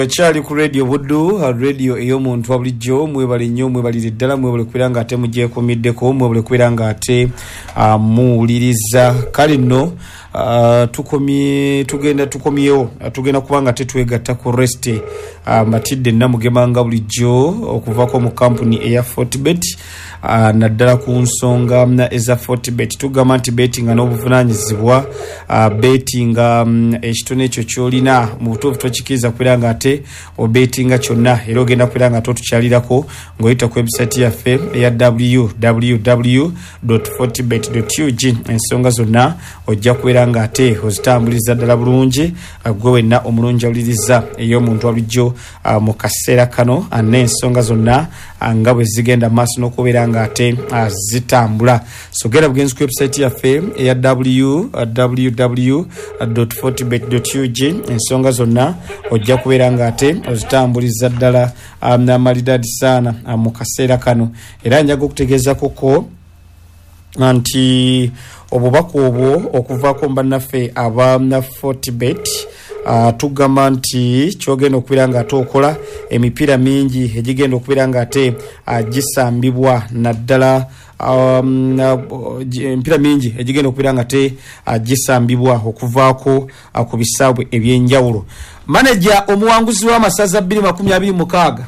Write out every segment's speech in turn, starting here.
Okyali ku Radio Buddu, radio ey'omuntu wa bulijjo. Mwebale nnyo, mwebalire ddala, mwebale kubeera nga ate mugyekuumiddeko, mwebale kubeera nga ate muwuliriza. Kale nno tukomye, tugenda tukomyewo, tugenda kuba nga tetwegatta ku Rest Matidde Namugema nga bulijjo okuvako mu kampuni eya Fortebet, naddala ku nsonga eza Fortebet. Tugamba nti betinga n'obuvunaanyizibwa, betinga ekitone ekyo ky'olina mu butuufu tokikiriza kubeera nga ate obetinga kyonna, era ogenda kubeera nga totukyalirako ng'oyita ku website yaffe eya www.fortebet.ug. Ensonga zonna ojja kubeera nga ate ozitambuliza ddala bulungi, gwe wenna omulungi awuliriza ey'omuntu wa bulijjo mu kaseera kano, n'ensonga zonna nga bwe zigenda maaso n'okubeera nga ate zitambula. So genda bugenzi ku website yaffe eya www.fortebet.ug, ensonga zonna ojja kubeera nga ate ozitambuliza ddala maridadi saana mu kaseera kano. Era njaga okutegeezakoko nti obubaka obwo okuvaako bannaffe aba Fortebet, tugamba nti kyogenda okubeera nga ate okola emipiira mingi egigenda okubeera nga ate gisambibwa, naddala emipiira mingi egigenda okubeera nga ate gisambibwa okuvaako ku bisaawe ebyenjawulo. Maneja omuwanguzi w'amasaza 2026.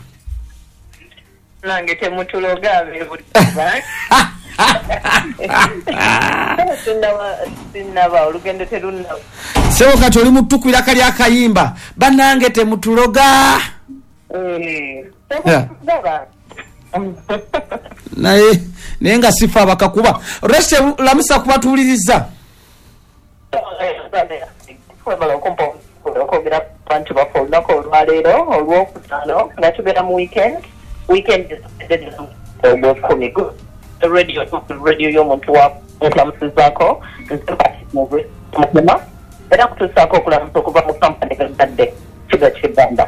Nange temutuloga ab'ebuddu. Sinnaba, olugendo terunnaba. Sebo kati oli mutukubira kali akayimba, bannange temutuloga. Temutulaba. Naye nga sifa abakakuba. Reste lamusa kubatuwuliriza. Webale okumpa okwogera ku bantu baffe olunaku olwaleero olwokutaano nga tubeera mu weekend. Weekend ogwekumi radio y'omuntu wa nkulamusizaako nze era kutuusaako okulamusa okuva mu kampani gagadde kiga kibanda.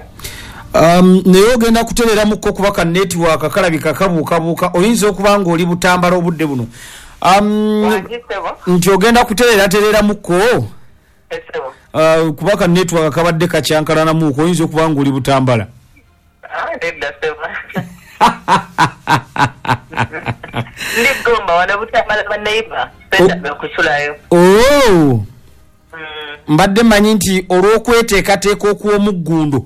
Naye ogenda kutereramuko kuba ka network kalabika kabuukabuuka, oyinza okuba nga oli Butambala obudde buno. Nti ogenda kutereratereramuko kuba ka network kabadde kakyankalanamuko, oyinza okuba nga oli Butambala. Nedda ssebo. Ndi Gomba, wano Butambala baneighbor sentaga kusulayo. Oh. Mbadde manyi nti olw'okweteekateeka okw'omuggundo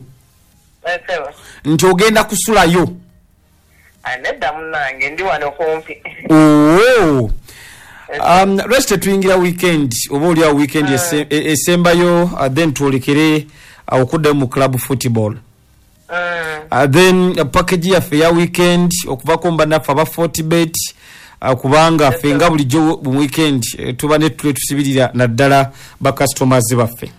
nti ogenda kusulayo. Nedda munnange, ndi wano kumpi. Oh. Rest tuyingira weekend, oba oli awo weekend esembayo, then twolekere okuddayo mu club football. Then package yaffe ya weekend okuvako mu bannaffe aba Fortebet, kubanga ffe nga bulijjo mu weekend tuba ne tule tusibirira naddala ba customers baffe.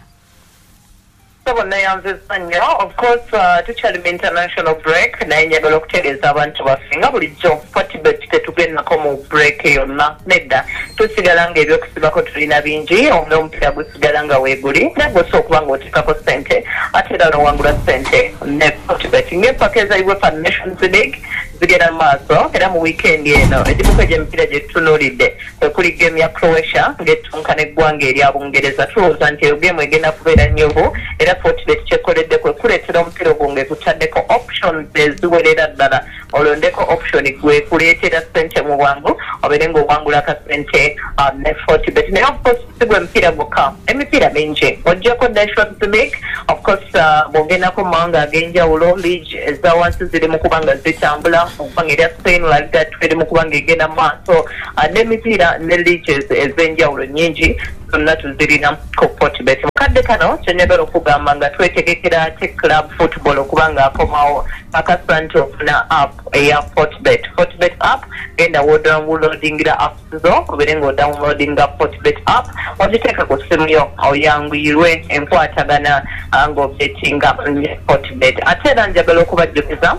Sebo neyanziza nnyo. Of course tukyali mu international break, naye njagala okutegeeza abantu baffe nga bulijjo Fortebet tetugendako mu break yonna, nedda, tusigala nga ebyokusibako tulina bingi, n'omupiira gusigala nga weeguli, naye gwe osobola okuba ng'oteekako ssente ate era n'owangula ssente ne Fortebet. Ng'empaka eza UEFA Nations League zigenda mu maaso, era mu weekend eno egimuko egy'emipiira gye tutunuulidde kwe kuli game ya Croatia ng'ettunka n'eggwanga erya Bungereza. Tulowooza nti eyo game egenda kubeera nnyuvu, era Fortebet kyekoledde kwe kuleetera omupiira ogwo ng'ekutaddeko options eziwerera ddala, olondeko option gwe kuleetera ssente mu bwangu obeere ng'owangula akasente ne Fortebet. Naye of course si gwe mupiira gwokka, emipiira mingi oggyeko Nations League. Of course bw'ogendako mu mawanga ag'enjawulo, league eza wansi ziri mu kuba nga zitambula, okuba nga erya Spain La Liga eri mu kuba nga egenda mu maaso, n'emipiira ne leagues ez'enjawulo nnyingi zonna tuzirina ku Fortebet. Mu kadde kano kyenjagala okugamba nga twetegekera ate club football okuba nga akomawo, kakasa nti ofuna app eya Fortebet. Fortebet app, genda wodownloadingira apps zo obeere ng'odownloadinga Fortebet app, ogiteeka ku ssimu yo oyanguyirwe enkwatagana ng'obetinga ne Fortebet. Ate era njagala okubajjukiza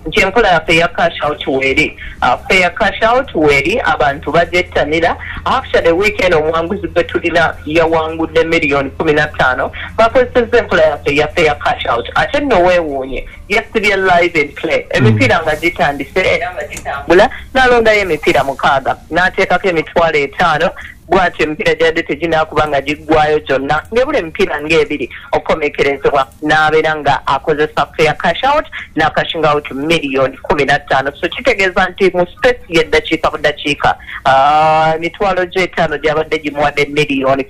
nti enkola yaffe eya cash out weeri, fair cash out weeri, abantu bagyettanira. Actually weekend omuwanguzi gwe tulina yawangudde 15 miliyoni, bakozesezza enkola yaffe eya fair cash out. Ate nno weewuunye, yasibye live and play, emipiira nga gitandise era nga gitambula, n'alondayo emipiira 6 n'ateekako 50,000. Bw'atyo emipiira gyadde teginaakuba nga giggwayo gyonna, ng'ebula emipiira ng'ebiri okukomekerezebwa, n'abeera nga akozesa fair cash out n'acashing out 15 million. So kitegeeza nti mu space y'eddakiika budakiika, 500,000 gyabadde gimuwadde 15 million.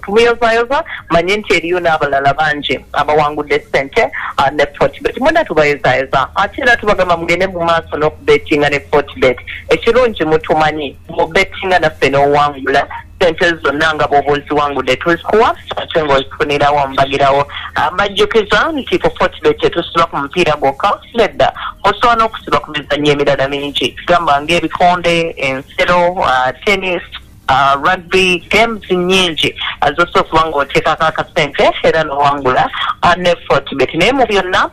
Tumuyozaayoza, manye nti eriyo n'abalala bangi abawangudde ssente ne Fortbet. Mwena tubayozayoza, ate era tubagamba mugende mu maaso n'okubetinga ne Fortbet. Ekirungi mutumanyi, mubetinga naffe n'owangula sente zonna nga bw'oba oziwangudde tuzikuwa, ate ng'ozifunirawo mbagirawo. Mbajjukiza nti ku Fortbet tetusiba ku mupiira gwokka, nedda, osobola n'okusiba ku mizannyo emirala mingi, gamba ng'ebikonde, ensero, tennis, rugby games nyingi zosobola okuba ng'oteekako akasente era n'owangula ne Fortbet. Naye mu byonna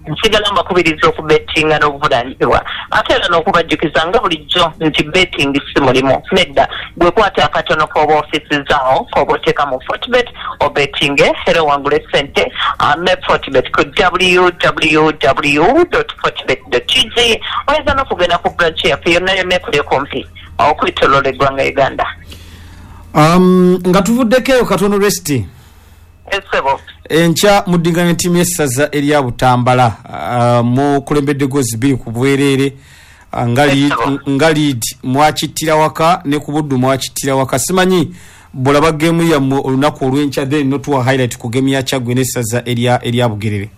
nsigala mbakubiriza okubetinga n'obuvunanyizibwa, ate era n'okubajjukiza nga bulijjo nti betting si mulimu, nedda. Gwe kwata akatono k'oba ofisizaawo k'oba oteeka mu Fortbet, obetinge era owangule sente ne Fortbet ku www fortbet gg. Oyinza n'okugenda ku branch yaffe yonna yonna ekuli okumpi okwetoloola eggwanga Uganda. Nga tuvuddeko eyo katono, Resty. Esebo. Enkya muddinganya ttiimu y'essaza erya Butambala, mukulembedde gozi 2 ku bwereere, nga lead mwakittira waka ne ku Buddu mwakittira waka. Simanyi bwolaba geemu yammwe olunaku olw'enkya, then notuwa highlight ku geemu ya Kyaggwe n'essaza erya Bugerere.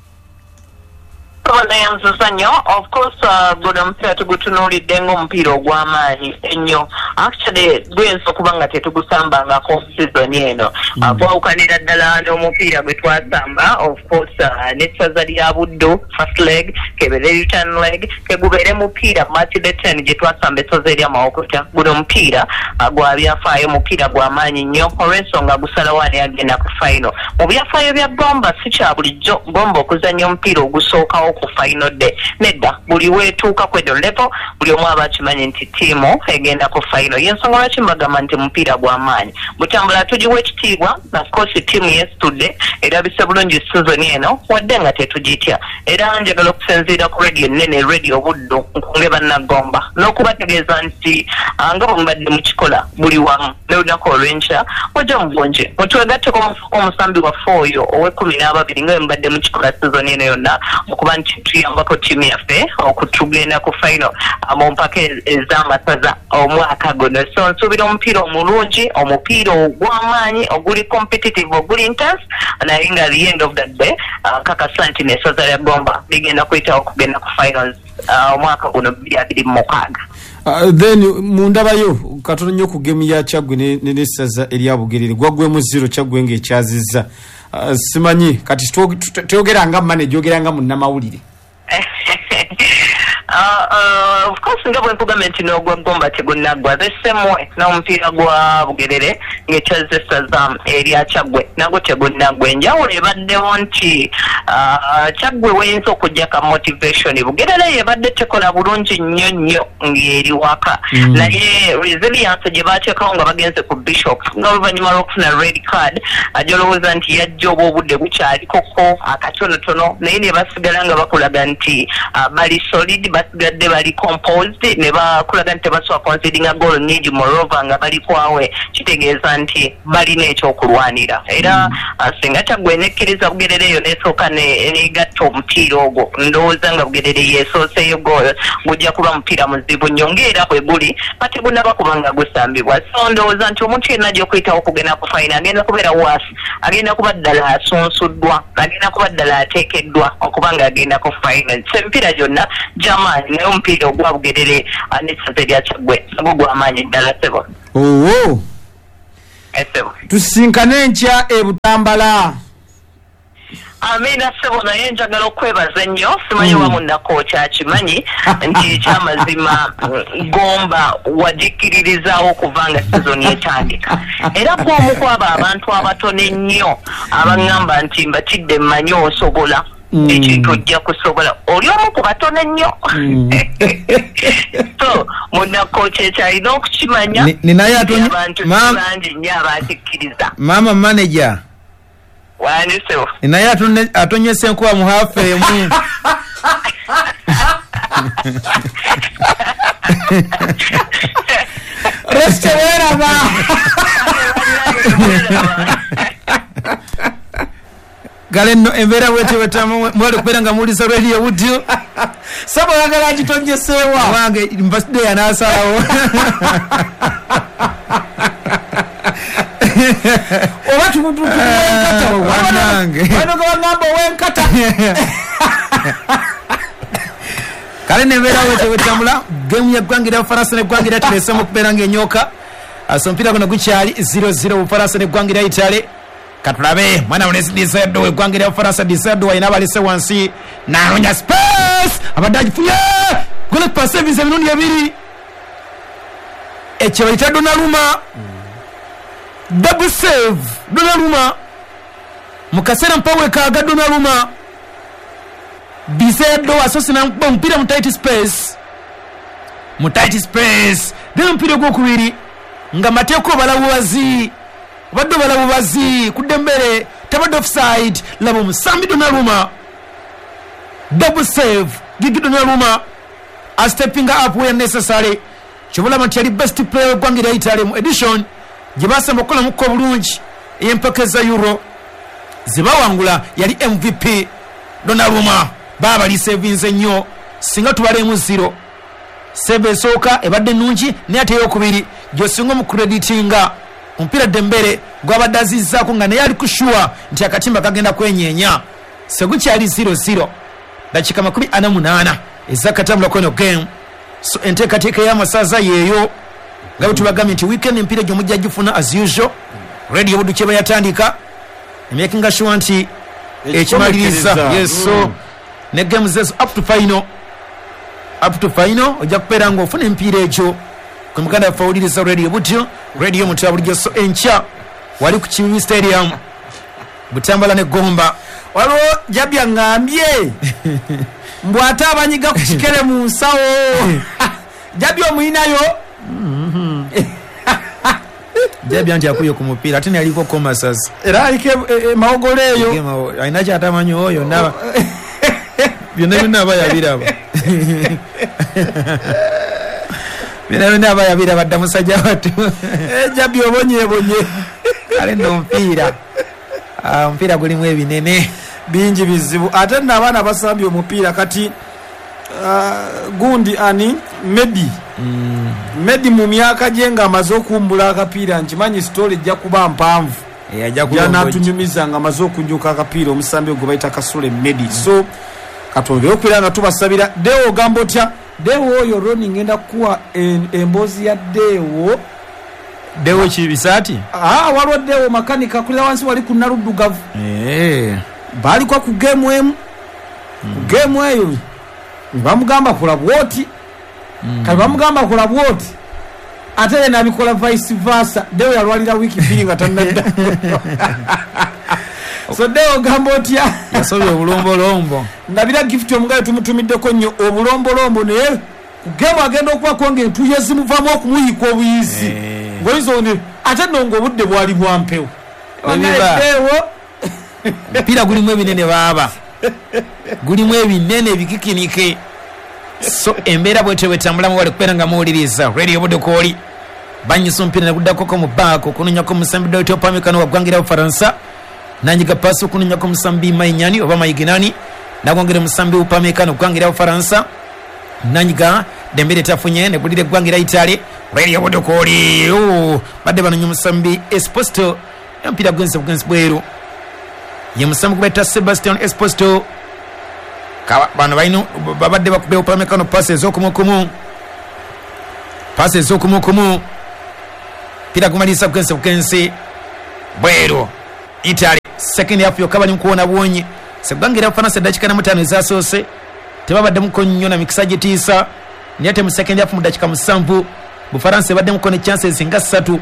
Neyanziza nnyo. Of course, guno omupiira tugutunuulidde ng'omupiira ogw'amaanyi ennyo. Actually guyinza okuba nga tetugusambangako season eno. Gwawukanira ddala n'omupiira gwe twasamba, of course, n'essaza lya Buddu first leg, kebeere return leg, kegubeere mupiira match day 10 gye twasamba essaza erya Mawokota. Guno omupiira gwa byafaayo, mupiira gw'amaanyi nnyo olw'ensonga gusalawo ani agenda ku final. Mu byafaayo bya Gomba, si kya bulijjo Gomba okuzannya omupiira ogusookawo ku final day, nedda. Buli weetuuka ku eno level, buli omu aba akimanyi nti ttiimu egenda ku final. Yensonga lwaki mbagamba nti mupiira gw'amaanyi. Butambula tugiwa ekitiibwa. Of course ttiimu yeesitudde, erabise bulungi season eno, wadde nga tetugitya. Era njagala okusinziira ku radio ennene, Radio Buddu, nkunge bannagomba n'okubategeeza nti nga bwe mubadde mukikola buli wamu, n'olunaku olw'enkya mujja mu bungi mutwegatteko omusambi waffe oyo ow'e12 nga bwe mubadde mukikola season eno yonna, okuba nti tuyambako ttiimu yaffe okutugenda ku final mu mpaka ez'amasaza omwaka guno. So nsuubira omupiira omulungi, omupiira ogw'amaanyi, oguli competitive, oguli intense, naye nga the end of the day, nkakasa nti n'essaza lya Gomba ligenda kuyitawo okugenda ku finals omwaka guno 2026. Then mundabayo katono nnyo ku gemu ya Kyaggwe n'essaza erya Bugerere. Gwaggwemu 0, Kyaggwe ng'ekyazizza. Simanyi kati toyogera nga manager, oyogera nga munnamawulire. Of course, nga bwe nkugambye nti n'ogwa Gomba tegunaggwa, the same way n'omupiira gwa Bugerere ng'ekyazza essaza erya Kyaggwe nagwo tegunaggwa. Enjawulo ebaddewo nti Kyaggwe weyinza okujja ka motivation. Bugerere yebadde tekola bulungi nnyo nnyo ng'eri waka, naye resilience gye bateekawo nga bagenze ku Bishop, nga oluvannyuma lw'okufuna red card gy'olowooza nti yajja oba obudde bukyalikoko akatonotono, naye ne basigala nga bakulaga nti bali solid, basigadde bali composed, ne bakulaga nti tebasobola concedinga goal nyingi, moreover nga bali kwawe, kitegeeza nti balina ekyokulwanira. Era singa Kyaggwe nekkiriza Bugerere eyo nesooka negatta omupiira ogwo, ndowooza nga Bugerere yesooseeyo goal, gujja kuba mupiira muzibu nnyo ng'era bwe guli bategunaba kuba nga gusambibwa. So ndowooza nti omuntu yenna ajja okuyitawo okugenda ku final agenda kubeera waasi, agenda kuba ddala asunsuddwa, agenda kuba ddala ateekeddwa okuba nga agenda ku final. So emipiira gyonna gy'amaanyi, naye omupiira ogwa Bugerere n'essaza erya Kyaggwe nagwo gw'amaanyi ddala, sebo. Owo. Esebo. Tusinkane enkya e Butambala. Amiina, ssebo. Naye njagala okwebaza ennyo. Simanyi oba munnako kyakimanyi nti ekyamazima Gomba wagikkiririzaawo okuva nga sizoni etandika, era gwomu ku abo abantu abatono ennyo abaŋŋamba nti mbatidde, mmanyi osobola ekintu, ojja kusobola. Oli omu ku batono ennyo. So munnako kyekyalina okukimanya Ninayo abantu si bangi nnyo abakikkiriza. Mama manager. Wandi, ssebo. Ninayo atonyesa enkuba mu hafu emu. Resite weeraba. Kale nno embeera bwetyo bwetamu, mwali okubeera nga muwuliza Radio Buddu. Saba oyagala agitonyeseewa. Wange mbasidde yanaasalawo. Oba tumuwenkata. Wanange. Bano nga bagamba owenkata. Kale nembeera bwetyo bwetambula. Gemu y'eggwanga erya Bufalansa n'eggwanga erya Italy esemu okubeera ng'enyooka. So omupiira guno gukyali 0-0 Bufalansa n'eggwanga erya Italy. Katulabe mwana mulezi Disedo eggwanga erya Bufalansa. Disedo alina abalese wansi n'anoonya space, abadde agifunye goalkeeper saves emirundi ebiri. Ekyo bayita Donnarumma, double save Donnarumma mu kaseera mpawekaaga. Donnarumma, Disedo asoose n'amukuba omupiira mu tight space, mu tight space, then omupiira ogwokubiri nga mateeka obala bubazi, obadde obala bubazi ku Dembele, tabadde offside. Laba omusambi Donnarumma, double save. Gigi Donnarumma a stepping up where necessary. Kyobulaba nti yali best player w'eggwanga erya Italy mu edition gye basamba okukolamuko obulungi ey'empaka za Euro zebawangula, yali MVP Donnarumma. Baaba lisevinze nnyo, singa tubalemu 0. Save esooka ebadde nnungi, naye ate eyokubiri gy'osinga omucreditinga. Omupiira Dembele gwabadde azizzaako nga naye ali kushuwa nti akatimba kagenda kwenyeenya. Segukyali 0-0, dakika 48 ezakatambula kweno game. So enteekateeka y'amasaza yeeyo nga bwe tubagambye nti weekend emipiira gyo mujja gifuna as usual. Radio Buddu kyeba yatandika emakinga sure nti ekimaliriza. Yes, so ne games ezo up to final, up to final ojja kubeera ng'ofuna emipiira egyo ku muganda waffe awuliriza Radio Buddu, radio mutu bulijjo. So enkya wali ku Kiwi Stadium, Butambala ne Gomba. Waliwo Jabya ngambye mbu ate abanyiga ku kikere mu nsawo. Jabya omuyinayo? Jabya nti akuye ku mupiira, ate nayaliko komasas. Era aliko emawogolo eyo. Alina kyatamanyi oyo, naba byonna byonna aba yabiraba, byonna byonna aba yabiraba dda musajja wattu. Jabya obonyebonye. Kale nno omupiira, omupiira gulimu ebinene bingi bizibu. Ate nno abaana basambye omupiira kati gundi ani Medi, Medi mu myaka gye ng'amaze okuwumbula akapiira, nkimanyi story ejja kuba mpanvu yanatunyumiza nga amaze okunjuka akapiira, omusambi ogwo bayita Kasule Medi. So katwongere okubeera nga tubasabira. Dewo ogamba otya? Dewo oyo Roni ngenda kukuwa emboozi ya Dewo. Dewo kibisaati? Waliwo Dewo makanika akulira wansi wali ku Naluddugavu. Baaliko ku geemu emu, ku geemu eyo ne bamugamba kola bwoti, kati bamugamba kola bwoti ate ye n'abikola vice versa. Dewo yalwalira wiiki 2 nga tannadda. So Dewo ogamba otya? Yasobye obulombolombo. Ndabira Gift omugayo tumutumiddeko nnyo obulombolombo, naye ku geemu agenda okubako ng'entuuyo zimuvaamu okumuyika obuyizi ng'oyinza oni ate nno ng'obudde bwali bwa mpewo. Dewo omupiira gulimu ebinene baaba, gulimu ebinene ebikikinike. So embeera bwetyo bwetambulamu, wali kubeera nga muwuliriza Radio Buddu kwoli. Banyisa omupiira neguddakoko mu baako okunonyako omusambi Dawiti Opamecano wa ggwanga erya Bufalansa, nanyiga paasi okunonyako omusambi Mainyani oba Maiginani, nagwongera omusambi Upamecano ggwanga erya Bufalansa, nanyiga Dembele tafunye negulira eggwanga erya Italy. Radio Buddu kwoli badde banonya omusambi Esposito, omupiira gwensi bugensi bweru. Ye musambi gubayita Sebastian Esposito. Bano balina babadde bakubye Upamecano paasi ez'okumukumu, paasi ez'okumukumu, mpira gumaliriza bugensi bugensi bweru. Italy second half yokka bali mukuwona buwonyi. Seggwanga erya Bufalansa eddakiika 45 ezasoose tebabaddemuko nnyo na mikisa gitiisa, naye ate mu second half mu dakiika 7 Bufalansa ebaddemuko ne chances nga 3,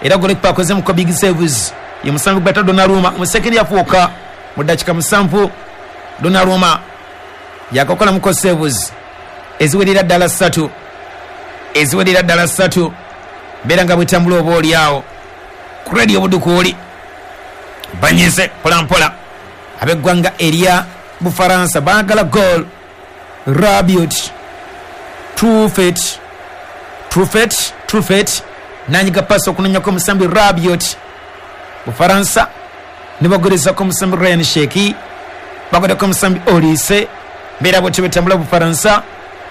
era goalkeeper akozemuko big saves. Ye musambi gubayita Donnarumma mu second half wokka mu dakiika 7 Donnarumma yakakolamuko saves eziwerera ddala 3, eziwerera ddala 3. Mbeera nga bwetambula oba oli awo ku Radio Buddu kwoli. Banyize mpola mpola ab'eggwanga erya Bufalansa baagala goal. Rabiot, Truffet, Truffet Truffet nanyiga pasi okunonyako omusambi Rabiot. Bufaransa nibagorezako omusambi Ryan Sheki, bagoreko omusambi Olise. Mbeera bwetyo betambula Bufaransa.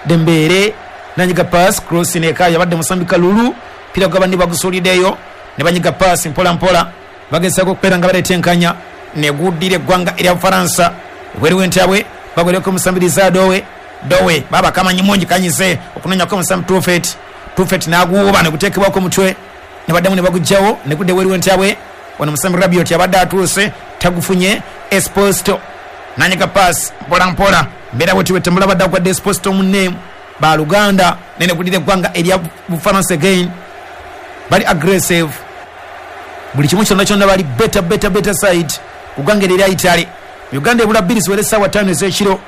Dembele nanyiga pass, cross neka yabadde musambi Kalulu, pira gwabandi bagusuliddeyo ne banyiga pass mpola mpola, bagezaako okubeera nga baleeta enkanya neguddira eggwanga erya Bufaransa. Ebweru w'entabwe bagoreko omusambi Liza Dowe. Dowe baba kamanyi mungi kanyize okunonyako omusambi Truffet. Truffet n'aguwuba ne guteekebwako omutwe ne baddamu ne bagugjawo ne gudda ebweru w'entabwe. Wano omusambi Rabiot abadde atuuse tagufunye. Esposito nanyiga pass mpola mpola, mbeera bwetyo bwetambula badde agwadde Esposito munne baluganda nene gudira eggwanga erya Bufaransa. Again bali aggressive, buli kimu kyonna kyonna bali better better better side ku ggwanga erya Italy. Uganda ebula 2 ziwere essaawa 5 ez'ekiro.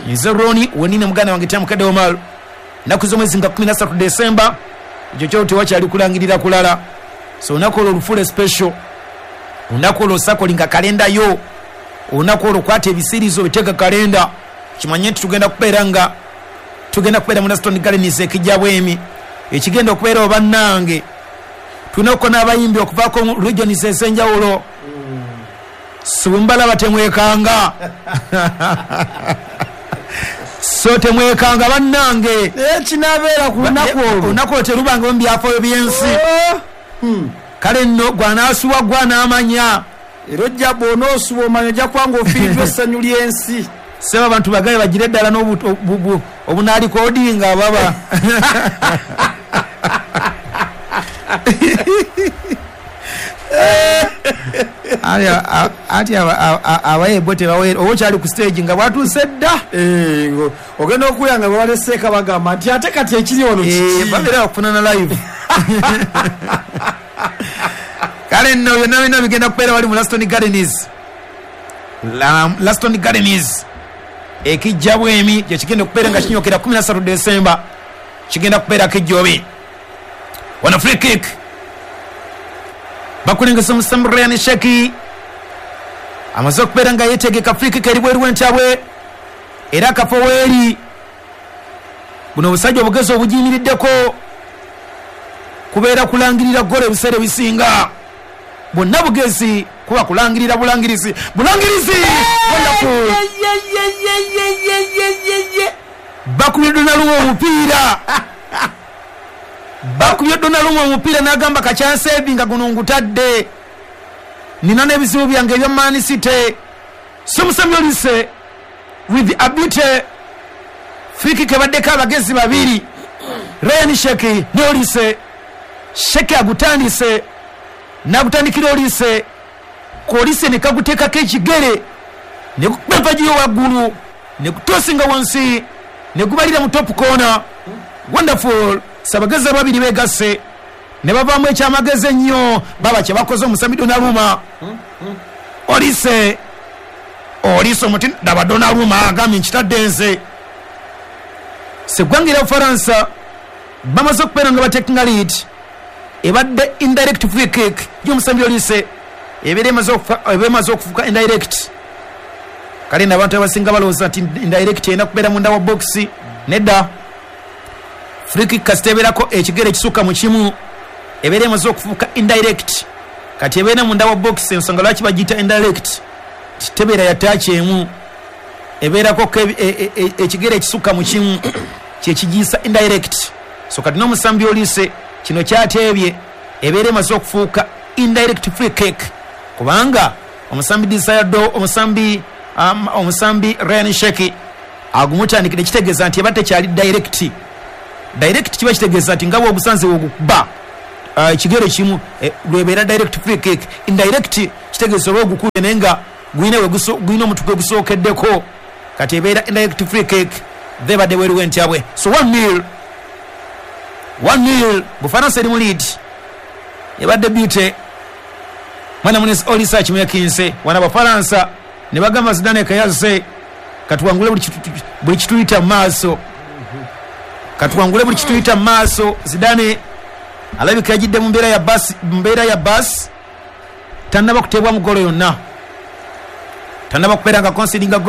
Nze Roni wenine muganda wange Tamukadde Omar. Ennaku z'omwezi nga 13 Desemba, ekyo kyo tewakyali kulangirira kulala. So olunaku olwo olufuule special, olunaku olwo osakolinga kalenda yo, olunaku olwo kwata ebisiirizo biteeka kalenda, kimanye nti tugenda kubeera nga tugenda kubeera mu Laston Gardens ekijja bwemi ekigenda okubeera obannange. Tulina okuko n'abayimbi okuvaako mu regions ez'enjawulo. So bwe mubalaba temwekanga, so temwekanga bannange. Ekinabeera ku lunaku olwo, olunaku olwo terubanga mu byafaayo by'ensi. Kale nno gwanaasuwa gwanaamanya, era ojja bw'onoosuba omanya ojja kuba ng'ofiiriddwa essanyu ly'ensi. Seba abantu bagaye bagire ddala n'obunalikodinga baba. Ati abayebo tebawera oba okyali ku stage nga bwatuuse dda, ogenda okuwulira nga babaleseeka bagamba nti ate kati ekiri wano kiki, babeera bakufunana live. Kale nno byonna byonna bigenda kubeera wali mu Laston Gardens. Laston Gardens ekijja bwemi kyekigenda okubeera nga kinyokera 13 Desemba, kigenda kubeera kijjobe. Wano free kick bakulengesa omusambi Ryan Sheki, amaze okubeera nga yeetegeka. Free kick eri bweru w'entabwe era akafo weeri. Buno obusajja obugezi obugiyimiriddeko kubeera kulangirira ggola ebiseera ebisinga, bwonna bugezi kuba kulangirira bulangirizi bulangirizi. Wonderful, bakubye Donnarumma omupiira, bakubye Donnarumma omupiira n'agamba kakyanseevi nga guno ngutadde, nina n'ebizibu byange ebya Man City. So musambi Olise with ability, free kick ebaddeko abagezi babiri, Ryan Sheki ne Olise. Sheki agutandise n'agutandikira Olise, Olise ne kaguteekako ekigere ne gukuba empagiyo waggulu ne gutosinga wansi ne gubalira mu top corner. Wonderful, sabagezi ababiri begasse ne bavaamu ekyamagezi ennyo baba kye bakoze omusambi Donnarumma. Olise Olise omuti daba Donnarumma agambye nkitadde nze. Seggwanga erya Bufaransa bamaze okubeera nga batekinga lead, ebadde indirect free kick y'omusambi Olise, ebeera emaze okufuuka indirect. Kale nno abantu abasinga balowooza nti indirect erina kubeera munda wa box, nedda. Free kick kasita ebeerako ekigere ekisukka mu kimu ebeera emaze okufuuka indirect. Kati ebeera munda wa box, ensonga lwaki bagiyita indirect, tebeera ya taaki emu, ebeerako ekigere ekisukka mu kimu kyekigiyisa indirect. So kati n'omusambi Olise kino kyateebye, ebeera emaze okufuuka indirect free kick, kubanga omusambi Desire, omusambi Ryan Sheki agumutandikidde, kitegeeza nti eba tekyali direct. Direct kiba kitegeeza nti nga bw'ogusanze wogukuba ekigere kimu lwebeera direct free kick. Indirect kitegeeza oba ogukubye naye nga gulina omutwe gwe gusookeddeko, kati ebeera indirect free kick thebadde bweru w'entabwe. So 1-0 1-0 Bufaransa eri mu lead, ebadde beauty. Mwana munesi Olise akimekinse wana Abafaransa ne bagamba Zidane kayazze, katuwangule buli kituyita mu maaso, katuwangule buli kituyita mu maaso. Zidane alabika yajidde mu mbeera ya basi, tannaba kuteebwa mu golo yonna, tannaba kubeera nga concedinga golo.